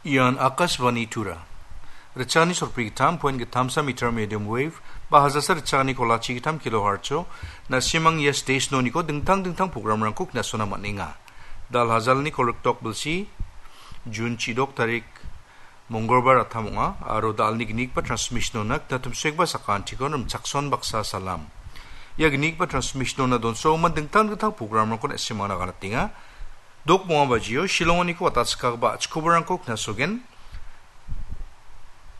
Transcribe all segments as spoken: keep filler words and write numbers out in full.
Ian Akashvani Tura. Ritchani sorpri gittam point gittamsa meter medium wave, ba hajasa ritchani kolachi gittam kilohertz-o, na·simang ia station-oniko dingtang dingtang programrangko knasona man·enga. Dal hajalni kolrikdok bilsi, Jun chidok tarik, Mongolbar attam ong·a, aro dalni gnigipa transmission-ona knatumsekba sakantikon rimchakson baksa salam. Ia gnigipa transmission-ona donsogimin dingtang dingtang programrangko na·simangna ganatenga. Dok bonga bajio, Shillong-oniko watatskagipa achikobarangko knasogen.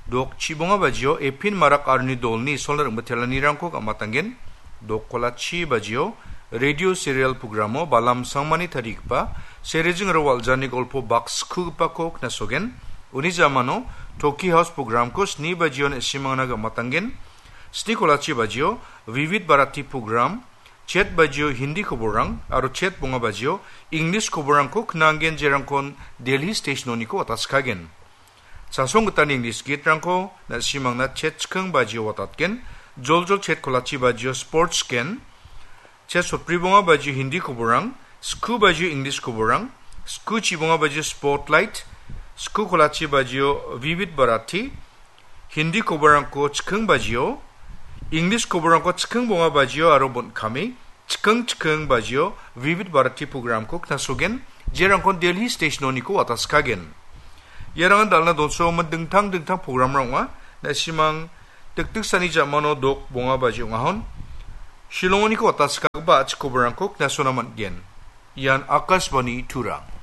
Dok chibonga bajio, Epin Marak aroni dolni isolna ringbitelranirangko gamatanggen. Dok kolachi bajio, radio serial programo Balam Sangmani tarigipa, Serejing aro Waljani golpo bak skugipako knasogen. Uni jamano, Toki House programko sni bajio na·simangna gamatanggen. Sni kolachi bajio, Vivid Bharati program, chet bajio Hindi koborang, aro chet bonga bajio English koborangko knanggen jerangkon Delhi station-oniko watatskagen. Chasong gitani English gitrangko na·simangna chet chikking bajio watatgen, joljol chet kolachi bajio sports gen, chet sotbri bonga bajio Hindi koborang, sku bajio English koborang, sku chibonga bajio spotlight, sku kolachi bajio Vivid Bharati, Hindi koborangko chikking bajio, English koborangko chikking bonga bajio aro bon·kame, chikking chikking bajio, Vivid Bharati programko knasogen, jerangkon Delhi station-oniko watatskagen. Iarangan dalna donsogimin dingtang dingtang programrang ong·a, na·simang dikdiksani jamano dok bonga baji ong·ahon, Shillong-oniko watatskagipa achikobarangko knasona man·gen. Ian Akashvani Tura.